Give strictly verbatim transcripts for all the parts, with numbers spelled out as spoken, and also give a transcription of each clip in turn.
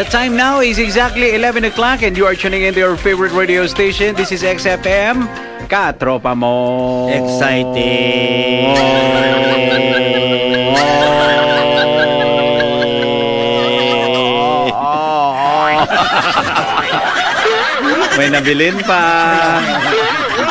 The time now is exactly eleven o'clock and you are tuning in to your favorite radio station. This is X F M, Katropa Mo. Exciting. May nabilin pa.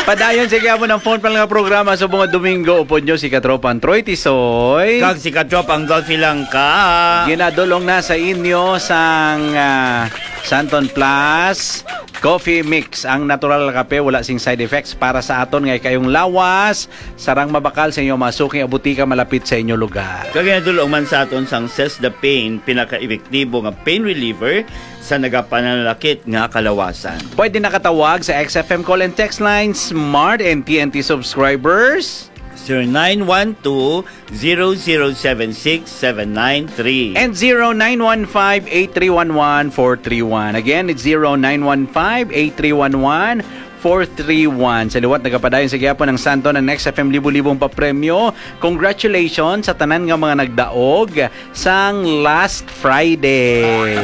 Padayon sa gyapon ang phone pa nga programa sa mga Domingo. Upod nyo si Katropang Troy Tisoy. Kag si Katropang Dolphy Langka. Ginadulong na sa inyo sang, ah, Santon Plus Coffee Mix. Ang natural nga kape, wala sing side effects para sa aton nga kayong lawas. Sarang mabakal sa inyo mga suking abutika malapit sa inyo lugar. Kag ginadulong man sa aton sang Cess the Pain, pinaka-epektibo nga pain reliever sa nagapananalakit nga kalawasan. Pwede nakatawag sa X F M call and text line, Smart and T N T subscribers. Zero nine one two, zero zero seven six, seven nine three. And zero nine one five, eight three one one, four three one. Again, it's zero nine one five, eight three one one, four three one. Sa liwat, nagapadayon sa gyapon ang Santon ang Next F M libo-libong papremyo. Congratulations sa tanan nga mga nagdaog sang last Friday.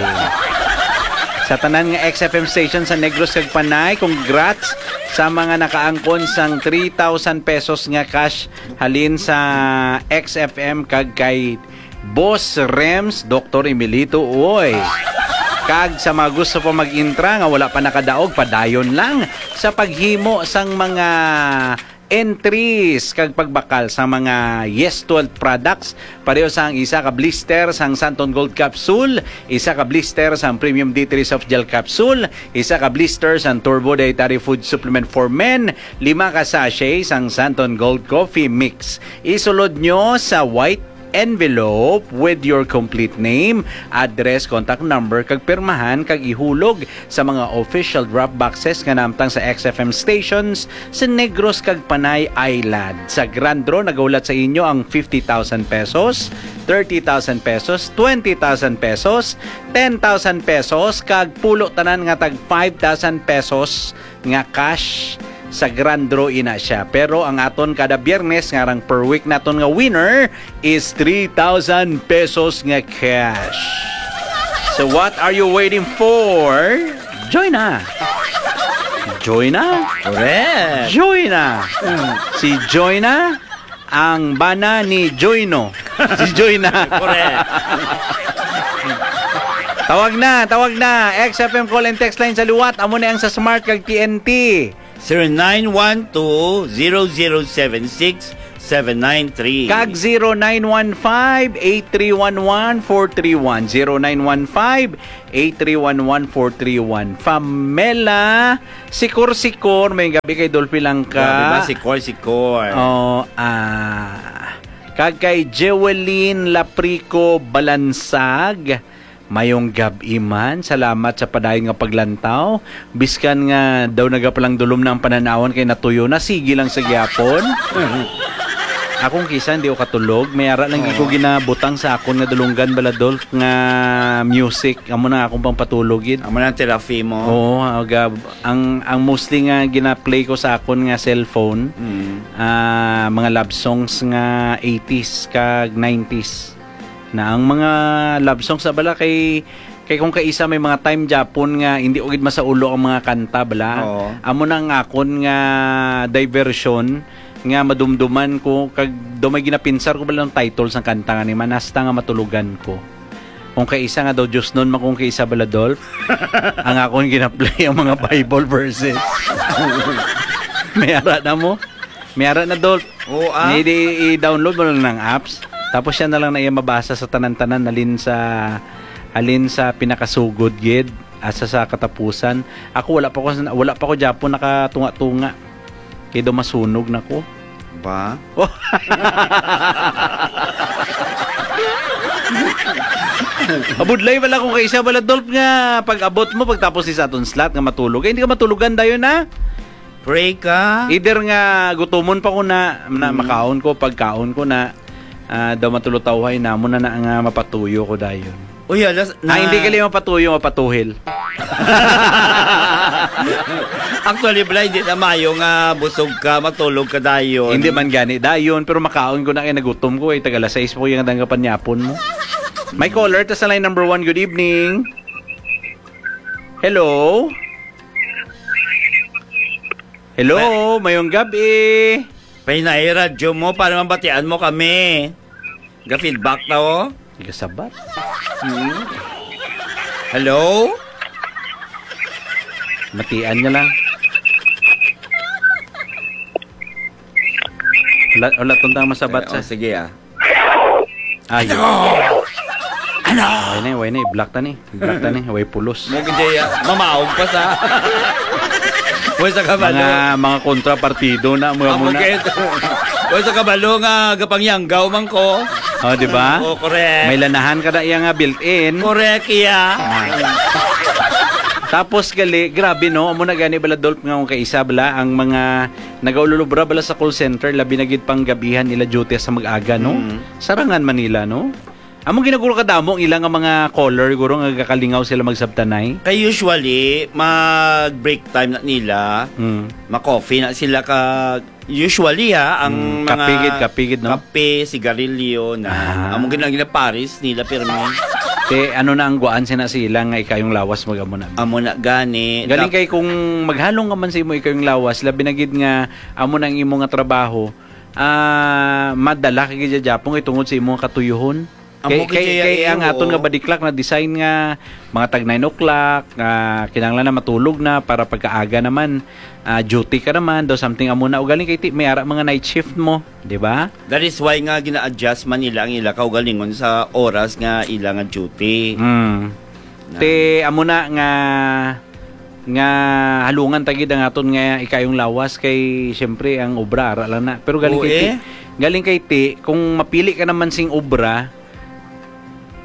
Sa tanan nga X F M station sa Negros kag Panay, congrats sa mga nakaangkon sang three thousand pesos nga cash halin sa X F M kag kay Boss Rems, Doktor Emilito Uy. Kag sa mga gusto pa mag-intra nga wala pa nakadaog, padayon lang sa paghimo sang mga entries kag pagbakal sa mga Yes twelve products. Pareho sang isa ka blister sang Santon Gold Capsule, isa ka blister sang Premium D three Soft Gel Capsule, isa ka blister sang Turbo Dietary Food Supplement for Men, lima ka sachet sang Santon Gold Coffee Mix. Isulod nyo sa white envelope with your complete name, address, contact number, kag pirmahan kag ihulog sa mga official drop boxes nga naamtang sa X F M stations sa Negros kag Panay Island. Sa Grand Draw, nagahulat sa inyo ang fifty thousand pesos, thirty thousand pesos, twenty thousand pesos, ten thousand pesos, kag pulo tanan nga tag five thousand pesos nga cash. Sa Grand Draw ina siya. Pero ang aton kada Biyernes nga rang per week naton nga winner is three thousand pesos nga cash. So what are you waiting for? Join na. Join na. Correct. Join na. Mm. Si Joy na ang bana ni Joyno. Si Joy na. Correct. Tawag na, tawag na. X F M call and text line sa liwat. Amo na ang sa Smart kag T N T. Zero nine one two, zero zero seven six, seven nine three. Kag zero nine one five, eight three one one, four three one. Zero nine one five, eight three one one, four three one. Pamela Sikor-Sikor, may gabi kay Dolphy Langka. Grabe ba, Sikor-Sikor? Oh, ah, kag kay Jewelyn Laprico Balansag, mayong gab-i man. Salamat sa padayon nga paglantaw. Biskan nga daw nagapalang dulom na ang pananawan kay natuyo na, sige lang sa gyapon. Akong kisa hindi ko katulog. May ara lang gid ko Oo. ginabutang sa akon nga dulunggan, baladol, nga music. Amo na akong pampatulog gid. Amo na ang therapy mo. Oo, aga, ang, ang mostly nga gina-play ko sa akon nga cellphone, Mm. ah, mga love songs nga eighties kag nineties. Na ang mga love songs na bala kay, kay kung kaisa may mga time gyapon nga hindi ko gid masaulo ang mga kanta bala. Oo. Amo na ang akon nga diversion nga madumduman ko kag daw may ginapinsar ko bala ang title sang kanta nga ni man hasta nga matulugan ko. Kung kaisa nga daw Diosnon man kung kaisa bala, Dolph, ang akon gina-play ang mga Bible verses. May ara na mo? May ara na, Dolph. Oo, ah. Ni di i-download mo lang ng apps. Tapos siya na lang na iya mabasa sa tanan-tanan, halin sa, halin sa pinakasugod gid, asa sa katapusan. Ako wala pa ko, wala pa ko gyapon nakatunga-tunga. Kay daw masunog na ko. Ba? Abudlay wala ko kay isa bala, Dolph, nga pag-abot mo, pagtapos ni sa aton slot nga matulog. Eh, hindi ka matulogan dayon, ha? Pray ka. Either nga gutomon pa ko na, na Mm. makaon ko, pagkaon ko na, ah, daw matulog tawhay na, mo na, na nga mapatuyo ko dayon. Uy, alas na. Ah, hindi gali mapatuyo, mapatuhil. Actually, bala, hindi na mayo nga busog ka, matulog ka dayon. Hindi man gani dayon, pero makaon ko na kay nagutom ko, eh. Taga alas sais pa ko yung danggapan yapon mo. May caller, ta sa line number one, good evening. Hello? Hello, mayong gabi. Pahinay radyo mo para mabatian mo kami. Ga-feedback na, oh. Gasabat. Hmm. Hello? Matian niya lang. Wala, wala tundang masabat Eh, sa oh, sige, ah. Ayo. Ano? Way na, way na, i-block ta ni. I-block ta ni, way pulos. Mo gid ya, mamaog pa sa. Way sa kabalo. Mga, mga kontrapartido na, mga Amo muna. Kay, way sa kabalo nga gapangyanggaw man ko. Oh, di ba? Oh, correct. May lanahan ka na iya nga built-in. Correct, iya. Ah. Tapos gali, grabe no, amo na gani bala, Dolph, nga kung kaisa bala ang mga nagaululubra bala sa call center, labi na gid pang gabihan nila duty sa mag-aga, no? Mm. Sarangan man nila, no? Among ginaguro kadamo ang ila nga mga caller, guro nga gakalingaw sila magsabtanay. Kay usually, mag-break time na nila, Mm. ma-coffee na sila ka, usually ha, ang Mm, mga kape gid, kape gid, no? Kape, sigarilyo, na Ah. Amo gina-, ginapares nila, pirmi. Te, ano na ang guwaan sina sila nga ikayong lawas mag-amo na? Amo na gani. Galing Dap- kay kung maghalong ka man sa imo ikayong lawas, labi na gid nga amo na ang imo nga trabaho, ah, madala ka gid japon kay tungod sa imo nga katuyohon. Amo Kay, gid kay, siya, kay eh, ang aton oo. Nga body clock na design nga mga tag nine o'clock, nga kinahanglan na matulog na para pagkaaga naman, ah, duty ka naman, daw something amo na. Ugaling kay ti-, may ara mga night shift mo, di ba? That is why nga gina-adjust man nila ang ila kaugalingon sa oras nga ila nga duty. Mm. Na- Te, amo na nga, nga halungan ta gid ang aton nga ikayong lawas kay siyempre ang obra ara lang na. Pero galing Oo, kay ti, eh. Galing kay ti, kung mapili ka naman sing obra,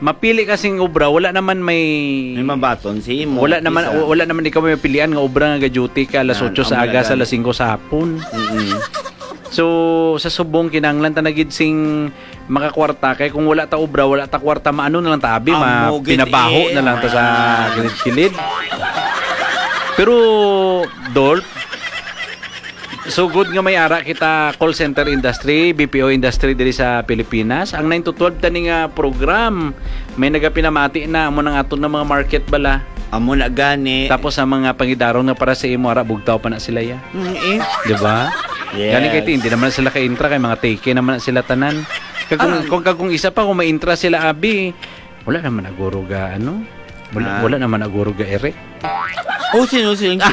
mapili ka sing obra, wala naman may May mabaton si imo, wala naman, kisa. Wala naman ikaw may pilian nga obra nga ga-duty ka alas Yan, otso sa amo na aga sa gani. Alas singko sa hapon. Mm-mm. So, sa subong, kinahanglan ta na gid sing makakwarta, kay kung wala ta obra, wala ta kwarta, maano na lang ta, abi, ma-, Amo gid pinabaho eh. Na lang ta sa kilid-kilid. Pero, Dolph, so good nga may ara kita call center industry, B P O industry diri sa Pilipinas. Ang nine to twelve tani nga program, may nagapinamati na, amo nang aton nga mga market bala. Amo na gani. Tapos ang mga pangidaron nga para sa imo, ara, bugtaw pa na sila ya. Mm, eh. Di ba? Yes. Gani kay ti, hindi naman sila ka-intra, kay mga take naman na sila tanan. Kag kung, Aram. Kung, kag kung isa pa, kung ma-intra sila, abi, wala naman na guro ga, ano? Wala, Ah. Wala naman na guro ga ere. Oh, sino, sino, sino?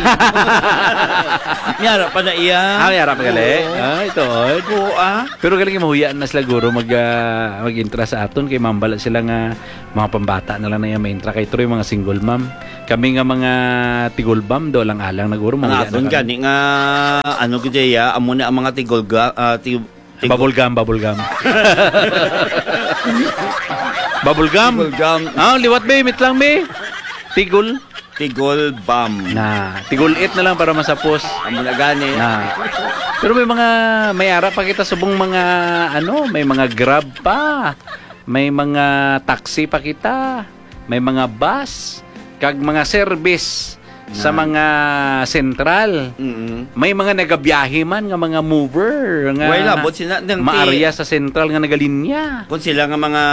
May ara pa na iya. Ah, may ara pa gali? Oo. Ah, ito, oy. Oo, ah. Pero galing mahuya na sila guro mag, ah, mag-intra sa aton kay mambala sila nga mga pambata na lang na iya ma-intra kay tuloy mga single mom. Kami nga mga tigulbam do lang alang na guro Ang mahuya na aton kami. Gani nga, ano gid ya, amo na ang mga tigulga, ah, tig-, tig- Bubble gum, bubble gum. Bubble gum. Tigulgam. Ah, liwat, be, mitlang, be. Tigul. Tigulbam. Na, tigul-it na lang para masapos. Amo na gani. Na. Pero may mga, may ara pa kita subong mga, ano, may mga Grab pa. May mga taxi pa kita. May mga bus. Kag mga service sa Na. Mga sentral. Mm-mm. May mga nagabiyahe man nga mga mover nga Way labot sina, nang ti- maarya sa sentral nga nagalinya. Kung sila nga mga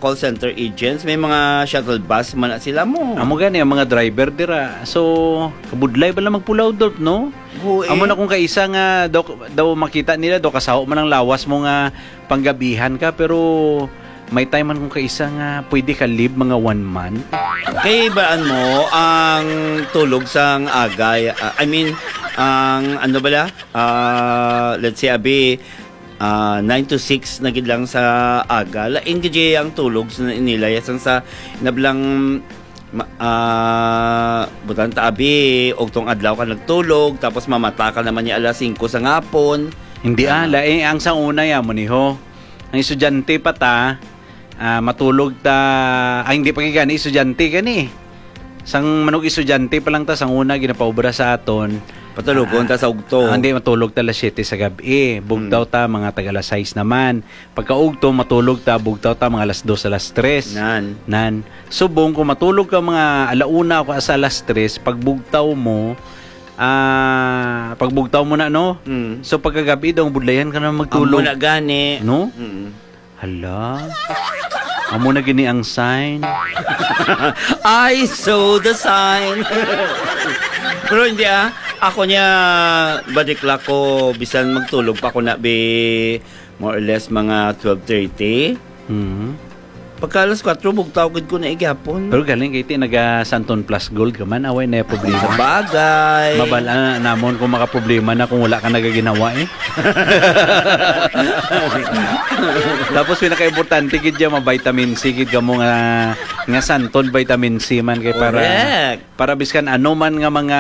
call center agents, may mga shuttle bus man na sila mo. Amo gani ang mga driver dira. So, kabudlay bala magpulaw, Dolph, no? Oo, eh. Amo na kung kaisa nga daw, daw makita nila, daw kasaho man ang lawas mo nga panggabihan ka, pero may time man kung kaisa nga pwede ka leave mga one month. Kay baan mo ang tulog sang agay, ah, I mean, ang ano bala? Ah, let's say, abi, ah, nine to six na gid lang sa aga. Lain gid ang tulog sa nila. Yasang sa nablang ma-, ah, butan ta, abi, ugtong adlaw ka nagtulog, tapos mamata ka naman niya alas singko sa ngapon. Hindi, ah, Ah. Lain ang sa una, ya mo ni ho. Ang estudyante pa ta, ah, matulog ta, ay, hindi pa gani, estudyante gani. Sang manog estudyante pa lang ta, sang una, ginapaubra sa aton. Patulogon Ah, ta sa ugto. Ah, hindi, matulog ta alas siyete sa gabi. Bugtaw Hmm. ta, mga tag alas sais naman. Pagkaugto, matulog ta, bugtaw ta, mga alas dos, alas tres. Nan. Nan. Subong, kung matulog ka mga ala una o sa alas tres, pagbugtaw mo, ah, pagbugtaw mo na, no? Mm. So, pagkagabi daw, budlayan ka na magtulog. Amo na gani. No? Mm. Hala. Amo na gini ang sign. I saw the sign. Pero hindi, ah. Ako niya, badiklak ko, bisan magtulog pa ko na, be, more or less, mga twelve thirty. Mhm. Pagka alas kuwatro, bugtaw gid ko na igapon. Pero galing kay ti naga Santon Plus Gold ka man, away na problema. Sa bagay. Mabal-an na namon kung makaproblema na kung wala ka nagaginawa, eh. Tapos pinaka-importante gid dyan, ma-vitamin C gid kamo nga, nga Santon vitamin C man kay para Correct. Para biskan ano man nga mga,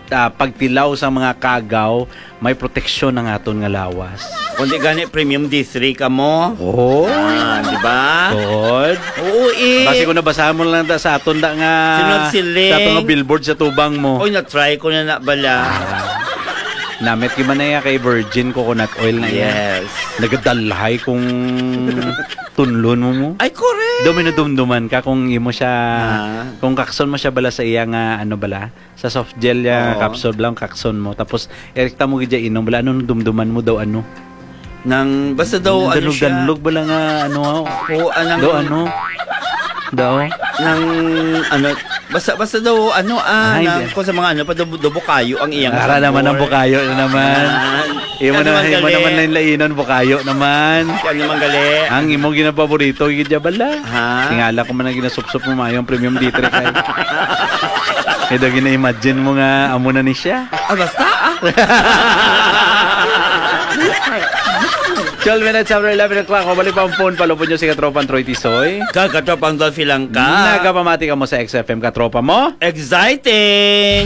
ah, pagtilaw sa mga kagaw, may proteksyon ang aton nga lawas. Kundi gani premium D three ka mo. Oo. Ah, di ba? Tuod. Oo, eh. Basi ko nabasa mo lang da sa aton da nga Sunod siling. Sa aton nga billboard sa tubang mo. Oy, na-try ko na na bala. Ah. Namit gyud man na iya kay virgin coconut oil na iya. Yes. Nagadalhay kung tunlon mo mo. Ay, correct. Daw may nadumduman ka kung imo siya, Ah. kung kakson mo siya bala sa iya nga, ano bala, sa soft gel niya, Oo. Capsule bala, kakson mo. Tapos, erekta mo gid siya inom bala, ano nadumduman mo daw, ano? Nang, basta daw, ano siya? Danlog-danlog bala nga, ano, Oo, anang Daw, ano? Daw? Nang, ano, basta, basta daw, ano, ah, Ay, nang, di. Kung sa mga, ano, pa, daw, daw bukayo ang iyang Ara naman ang sabor. Bukayo na naman. Ah, Imo ano na, man imo gali? Naman na yung lainon, bukayo naman. Ano man gali? Ang imo ginapaborito, gid siya bala. Ha? Tingala ko man ang ginasupsop mo, mayo ang premium D three kay. Kaya daw gina-imagine mo nga, amo na ni siya. Ah, basta, ah. Twelve minutes after eleven o'clock, balik pa ang phone, palupod nyo si Katropang Troy Tisoy. Kag Katropang Dolphy lang ka. Nagapamati ka mo sa X F M, Katropa mo. Exciting!